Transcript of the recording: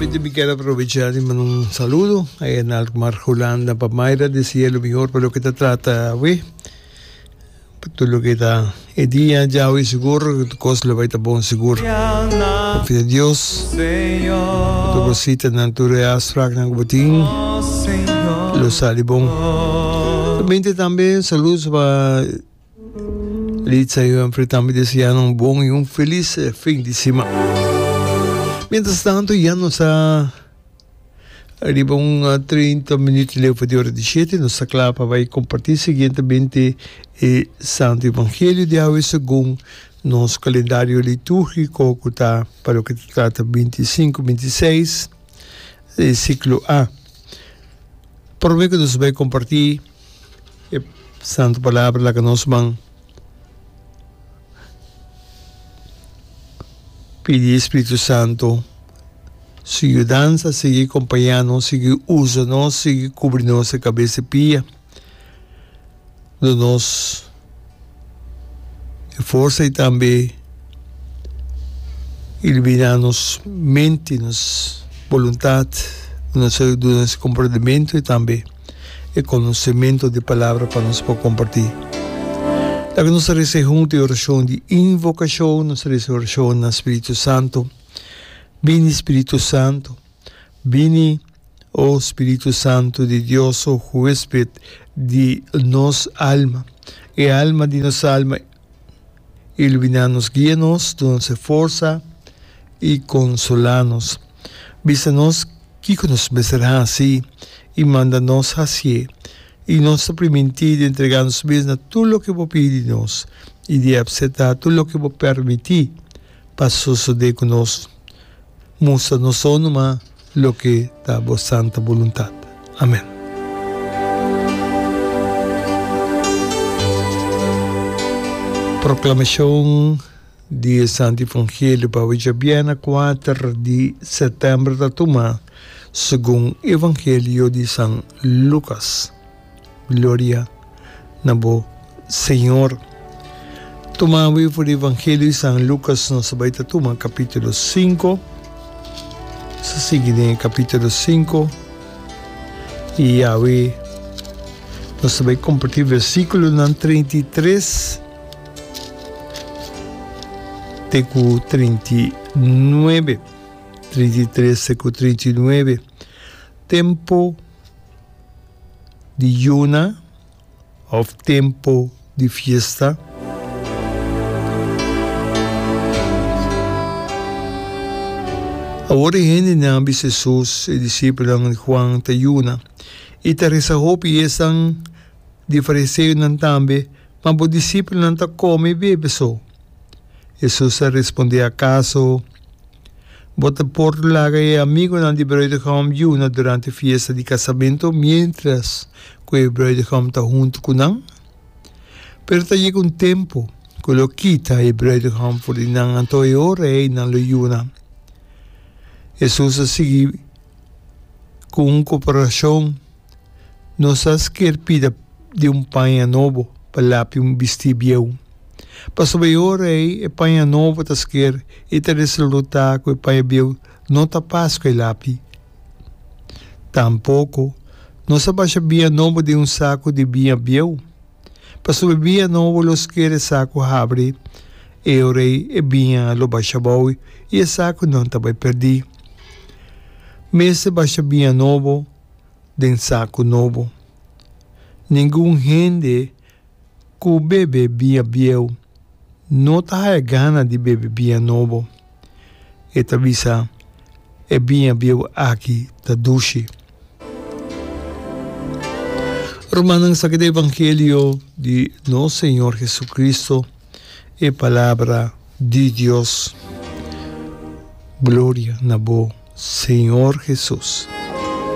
Solamente mi kier aprovecha di manda un saludo aya na Alkmaar Hulanda pa Mayra dese'e lo mihor pa loke ta trata awe. Pa tur loke ta e dia djawe sigur tur kos lo bai ta bon sigur. Konfia den Dios ku tur bo sitanan tur e afspraknan ku bo tin lo sali bon. Solamente tambe saludos pa Litza y Humphrey tambe deseando un bon y un feliz fin di siman. Mientras tanto ya nos a Riba un 30 minuut leu pa di ora di shete nos ta kla pa bai kompartí siguientemente e Santo Evangelio di awe segun nos kalendario litúrgiko ku ta pa loke ta trata 25, 26 e siklo A. Promé ku nos bai kompartí e Santo Palabra laga nos man Pidi e Spiritu Santo su yudansa, sigui kompañá nos, sigui usa nos, sigui kubri nos e kabes i pia. Duna nos e forsa i tambe iluminá nos mente, nos boluntat, duna nos komprendementu i tambe. e konosementu di Palabra pa nos por kompartí. Laga nos a resa huntu e orashon di invokashon, nos a resa e orashon na Spiritu Santu. Bini Spiritu Santu, bini, o Spiritu Santu di Dios, o huesped di nos alma, e alma di nos alma, iluminá nos, guia nos, duna nos e forsa i konsolá nos. Bisa nos Kiko nos mester hasi i manda nos hasié? I nos ta primintí di entregá nos mes na tur loke bo pidi di nos i di apseptá tur loke bo permití pa sosodé ku nos. Mustra nos so numa loke ta bo santa boluntat. Amèn. Proklamashon. Di e Santo Evangelio pa awe djabièrnè kuater di sètèmber ta tuma segun Evangelio di San Lukas. Gloria na bo Señor. Tuma awe for di Evangelio di San Lukas nos ta bai ta tuma kapítulo sinku. Nos ta sigui den e kapítulo sinku i awe nos ta bai kompartí versíkulonan 33. Te ku 39, 33 te ku 39. Tempu di yuna òf tempu di fiesta. Awor e hendenan a bisa Hesus, E disipelnan di Juan ta yuna i ta resa hopi, i esnan di fariseonan tambe. Ma bo disipelnan ta kome i bebe so. Hesus a respondé, Akaso bo ta por laga e amigunan di bruidegom yuna durante fiesta di kasamentu miéntras ku e bruidegom ta huntu ku nan? Pero ta yega un tempu ku lo kita e bruidegom for di nan, anto e ora ei nan lo yuna. Hesus a sigui ku un komparashon. No sa sker pida di un paña nobo pa lapi un bistí bieu. Pasobra e ora ei e paña nobo ta sker i ta resultá ku e paña bieu no ta pas ku e lapi. Tampoko no sa basha biña nobo den un saku di biña bieu, pasobra e biña nobo lo sker e saku habri, e ora ei e biña lo basha abou i e sakunan ta bai pèrdí. Mester basha biña nobo. den saku nobo. Ningun hende ku bebe biña bieu no ta haya gana di bebe biña nobo. E ta bisa, E biña bieu aki ta dushi. Rumannan, esaki ta evangelio di nos Señor Jesucristo, e palabra di Dios. Gloria na bo, Señor Jesus.